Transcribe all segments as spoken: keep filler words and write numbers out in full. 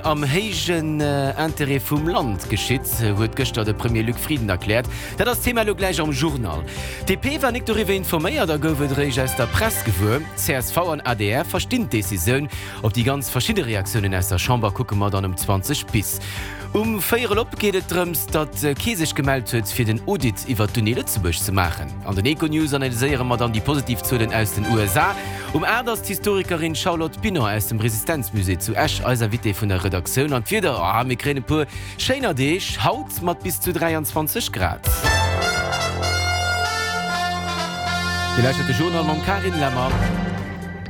Am héijen Interêt vum Land geschitt, huet gëschter de Premier Luc Frieden erkläert. Dat ass d'Thema elo gläich am Journal. D P war nik doriwwer informéiert a gouf et eréischt aus der Press gewuer. C S V an A D R verstinn d'Decisioun. Op déi ganz verschidde Reaktiounen aus der Chamber kucke mer dann um zwanzeg bis. Um véierel op geet et drëms, datt kee sech gemellt huet, fir den Audit iwwer d'Uni Lëtzebuerg ze maachen. An den Econews analyséiere mer dann déi positiv Zuelen aus den U S A. Um aacht ass d'Historikerin Charlotte Binaud aus dem Resistenzmusée zu Esch eis Invitée vun der Redaktioun. An d'Wieder, ah, mir kréien e puer schéiner Deeg, haut mat bis zu dräianzwanzeg Grad. Dir lauschtert de Journal mam Carine Lemmer.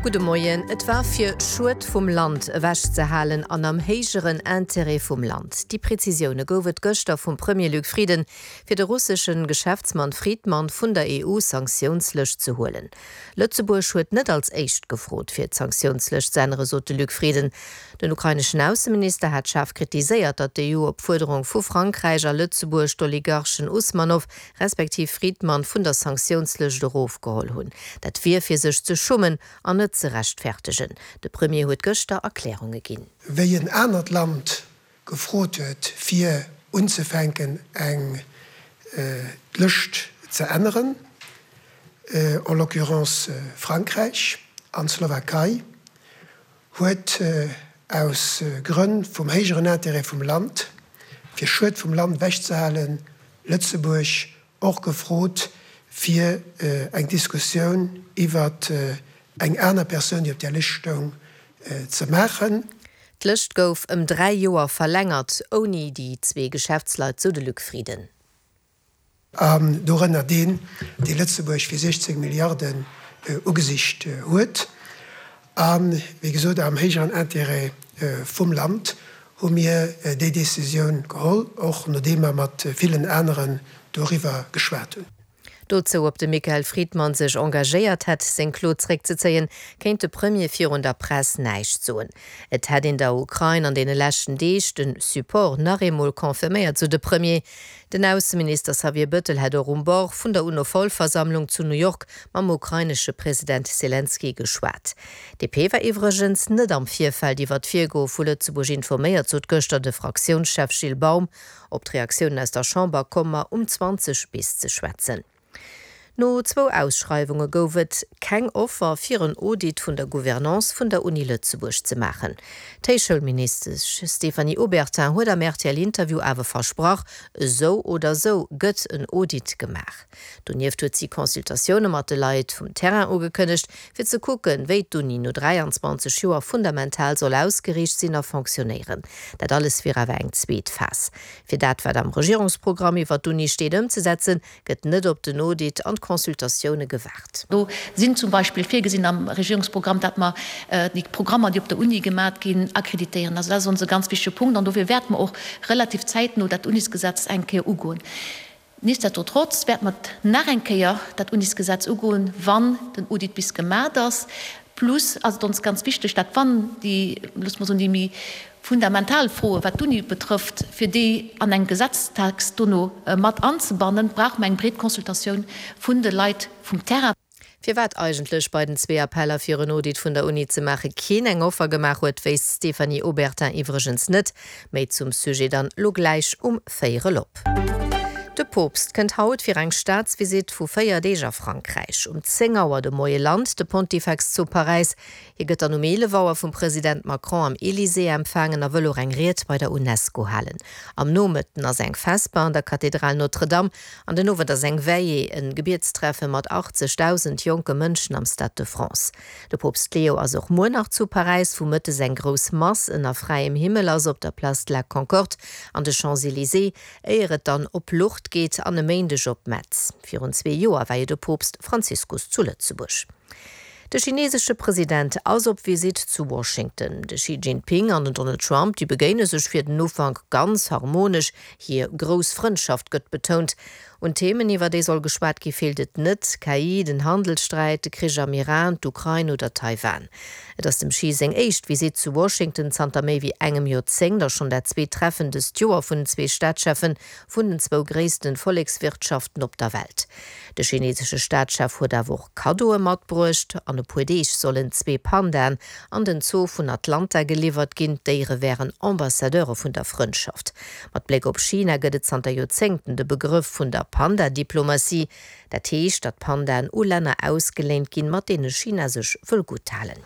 Gudde Moien. Et war fir Schued vum Land ewechzehalen an am héijeren Interêt vum Land. Déi Prezisioune gouf et gëschter vum Premier Luc Frieden, fir de russeschen Geschäftsmann Fridman vun der E U-Sanktiounslëscht ze huelen. Lëtzebuerg huet net als éischt gefrot fir d'Sanktiounslëscht ze änneren, sot de Luc Frieden. Den ukraineschen Ausseminister hat schaarf kritiséiert, datt d'E U op Fuerderung vu Frankräich a Lëtzebuerg d'Oligarchen Usmanow respektiv Fridman vun der Sanktiounslëscht erofgeholl hunn. Dat wier fir sech ze schummen an net ze rechtfäerdegen. De Premier huet gëschter Erklärunge ginn. Wéi en anert Land gefrot huet fir unzefänken eng äh, Lëscht ze änneren, äh, en l'occurrence äh, Frankräich an Slowakei, huet äh, aus äh, Grënn vum héijeren Interêt vum Land, fir Schued vum Land ewechzehalen, Lëtzebuerg och gefrot fir äh, eng Diskussioun iwwer äh, eng aner Persoun, déi op der Lëscht stoung, äh, ze maachen. D'Lëscht gouf ëm dräi Joer verlängert, ouni déi zwee Geschäftsleit, sou de Luc Frieden. An dorënner deen, dee Lëtzebuerg fir sechzéng Milliarden äh, ugesicht äh, huet. An wéi gesot am héijeren Interêt äh, vum Land hu mir äh, déi Decisioun geholl, och nodeem mer mat villen aneren doriwwer geschwat hunn. Dozou, ob de Michael Fridman sech engagéiert hätt, seng Klo zréckzezéien, kéint de Premier virun der Press näischt soen. Et hätt een der Ukrain an deene leschten Deeg de Support nach eemol confirméiert, sou de Premier. Den Ausseminister Xavier Bettel hätt och um Bord vun der UNO-Vollversammlung zu New York mam ukrainesche President Selenskyj geschwat. D P war iwwregens net am Virfeld iwwer d'Virgoe vu Lëtzebuerg informéiert, sot gëschter de Fraktiounschef Gilles Baum. Op d'Reaktiounen aus der Chamber komme mer um zwanzeg bis ze schwätzen. No zwou Ausschreiwunge gouf et keng Offer fir en Audit vun der Gouvernance vun der Uni Lëtzebuerg ze maachen. D'Héichschoulministesch Stéphanie Obertin huet am R T L-Interview awer versprach, esou oder esou gëtt en Audit gemaach. Donieft huet si Consultatioune mat de Leit vum Terrain ugekënnegt, fir ze kucken, wéi d'Uni no dräianzwanzeg Joer fundamental soll ausgeriicht sinn a fonctionnéieren. Dat alles wier awer eng zweet Phas. Fir dat, wat am Regierungsprogramm iwwer d'Uni steet, ëmzesetzen, gëtt net op den Audit an d'Consultatioune gewaart. Do sinn zum Beispill virgesinn am Regierungsprogramm, datt mer äh, déi Programmer, déi op der Uni gemaach ginn, akkreditéieren. Also dat ass onse ganz wichtege Punkt an dofir wäerte mer och relativ zäitno dat Unisgesetz eng Kéier ugoen. Nichtsdestotrotz wäerte mer nach eng Kéier dat Unisgesetz ugoen, wann den Audit bis gemaach ass. Plus ass et ons ganz wichteg, datt wann déi, loosse mer soen, déi méi fundamental Froe wat d'Uni betrëfft, fir déi an engem Gesetztext dono äh, mat anzebannen, brauche mer eng breet Consultatioun vun de Leit vum Terrain. Firwat eigentlech bei den zwee Appeller fir en Audit vun der Uni ze maache keen eng Offer gemaach huet, weess d'Stéphanie Obertin iwwregens net. Méi zum Sujet dann lo gläich um véierel op. De Poopst kënnt haut fir eng Staatsvisitt vu véier Deeg a Frankräich. Um zéng Auer de Moie lant de Pontifex zu Paräis. Hie gëtt dann um eelef Auer vum President Macron am Elysée empfaangen a wëll och eng Ried bei der UNESCO halen. Am Nomëtten ass eng Vesper an der Kathedral Notre-Dame an den Owend ass eng Veillée, en Gebietstreffe mat achtzegdausend jonke Mënschen am Stade de France. De Poopst Leo ass och muer nach zu Paräis, wou mëttes eng grouss Mass ënner fräiem Himmel ass op der Place de la Concorde an de Champs-Élysées, éier et dann op Lourdes geet an e Méindeg op Metz. Virun zwee Joer war jo de Poopst Franziskus zu Lëtzebuerg. De chinesesche President ass op Visitt zu Washington. De Xi Jinping an den Donald Trump, déi begéine sech fir den Ufank ganz harmonesch, hir grouss Frëndschaft gëtt betount. Un Themen, iwwer déi soll geschwat gi feelt et net, K I, den Handelssträit, de Krich am Iran, d'Ukrain oder Taiwan. Et ass dem Xi seng éischt Visitt zu Washington zanter méi wéi engem Joerzéngt a schonn dat zweet Treffen dëst Joer vun den zwee Staatscheffen vun den zwou gréissten Vollekswirtschaften op der Welt. De chinesesche Staatschef huet awer och Kaddoe matbruecht. An e puer Deeg sollen zwee Pandaen an den Zoo vun Atlanta geliwwert ginn. D'Déiere wären Ambassadeure vun der Frëndschaft. Mat Bléck op China gëtt et zanter Joerzéngten de Begrëff vun der Panda-Diplomatie. Dat heescht, datt Pandaen u Länner ausgeléint ginn, mat deene China sech wëll gutt halen.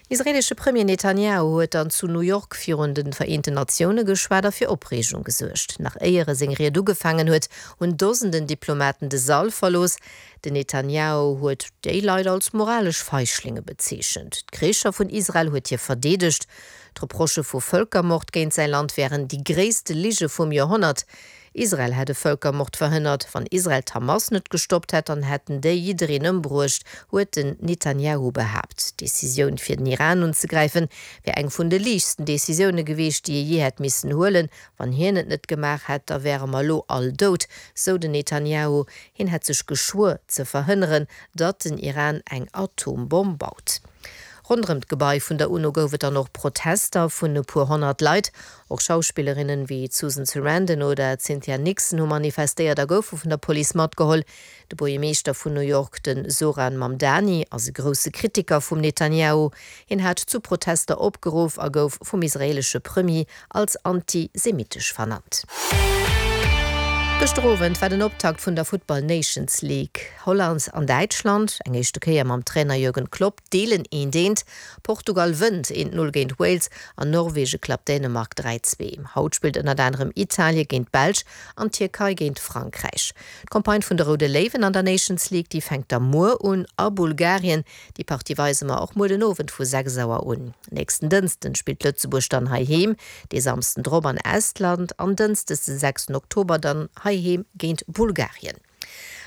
Den israeelesche Premier Netanjahu huet dann zu New York virun de Vereenten Natioune geschwat a fir Opreegung gesuergt. Nach éier e seng Ried ugefaangen huet, hunn Dosenden Diplomaten de Sall verlooss. Den Netanjahu huet déi Leit als moralesch Feichlinge bezeechent. D'Kricher vun Israel huet hie verdeedegt. D'Reprochë vu Vëlkermord géint säi Land wären déi gréisste Lige vum Joerhonnert. Israel hätt e Vëlkermord verhënnert. Wann Israel d'Hamas net gestoppt hätt, dann hätten déi jiddereen ëmbruecht, huet den Netanjahu behaapt. D'Decisioun fir den Iran unzegräifen, wär eng vun de liichtsten Decisioune gewiescht, déi e jee hätt missen huelen. Wann hien et net gemaach hätt, da wäre mer elo all dout, sou den Netanjahu. Hien hätt sech geschwuer ze verhënneren, datt den Iran eng Atombomm baut. Ronderëm d'Gebai vun der UNO gouf et dann och Protester vun e puer honnert Leit. Och Schauspillerinnen wéi d'Susan Sarandon oder d'Cynthia Nixon hu manifestéiert a goufe vun der Police matgeholl. De Buergermeeschter vun New York, de Zohran Mamdani, ass e grousse Kritiker vum Netanjahu. Hien hat zu Protester opgeruff a gouf vum israeelesche Premier als antisemitesch vernannt. Gëschter Owend war den Optakt vun der Futtball Nations League. Holland an Däitschland, eng éischte Kéier mam Trainer Jürgen Klopp, deelen eent eent. Portugal wënnt eent Null géint Wales an Norwege klappt Dänemark dräi zwee. Haut spillt ënnert anerem Italie géint d'Belsch an d'Tierkei géint Frankräich. D'Campagne vun de Roude Léiwen an der Nations League, déi fänkt da muer un a Bulgarien. Déi Partie weise mer och muer den Owend vu sechs Auer un. Nächsten Dënschden spillt Lëtzebuerg dann heiheem, dee Samsden drop an Estland an Dënschdes de sechsten Oktober dann heiheem géint Bulgarien.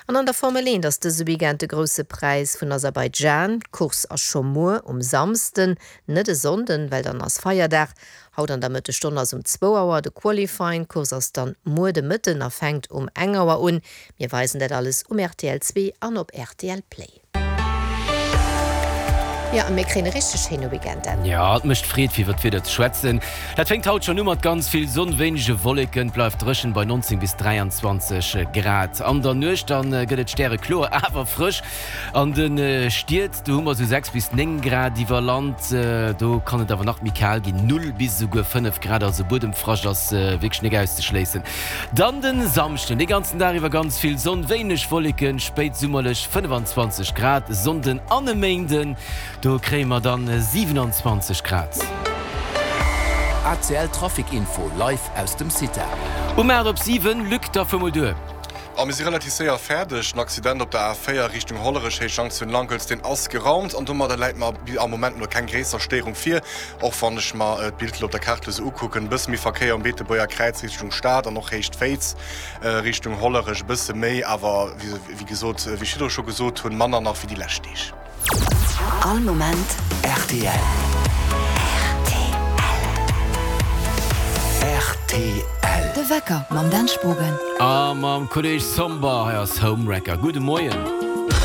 An an der Formel eent ass dëse Weekend de Grousse Präis vun Aserbaidschan. D'Course ass scho muer um Samsden, net e Sonnden, well dann ass Feierdag. Haut an der Mëttesstonn ass um zwou Auer de Qualifying. D'Course ass dann muer de Mëtten a fänkt um eng Auer un. Mir weisen dat alles um rtl zwee an op rtl Play. Jo, a mir kréien e richteg schéine Weekend, Dan. Jo, et mécht Freed fir iwwer d'Wieder ze schwätzen. Dat fänkt haut schonn u mat ganz vill Sonn, wéinege Wolleken, et bleift dréchen bei neunzéng bis dräianzwanzeg Grad. An der Nuecht dann gëtt et stärekloer, awer frësch an de Stied. Do hu mer esou sechs bis néng Grad iwwer Land, do kann et awer nach méi kal ginn, null bis esouguer fënnef Grad, also Buedemfrascht ass wierklech nek auszeschléissen. Dann de Samschden de ganzen Dag iwwer ganz vill Sonn, wéineg Wolleken, spéitsummerlech fënnefanzwanzeg Grad. Sonnden an e Méinden, do kréie mer dann siewenundzwanzeg Grad. A C L Trafic Info live aus dem Cita. Um aacht op siwen, Luc, da fuer mol duer. A mir si relativ séier fäerdeg. Den Accident op der A véier Richtung Hollerech, Héich Junction Lankelz, deen ass geraumt an domadder läit mer am Moment elo keng gréisser Stéierung vir. Och wann ech mer d'Bild elo op der Kaart elo sou ukucken, e bësse méi Verkéier um Beetebuerger Kräiz Richtung Stad an och Héicht Féiz Richtung Hollerech e bësse méi, awer wéi gesot, wéi ech virdru scho gesot hunn, manner nach wéi déi lescht Deeg. All Moment rtl. Rtl. De Wecker mam Dan Spogen. A mam Kolleg Somber. Hei ass Homewrecker. Gudde Moien.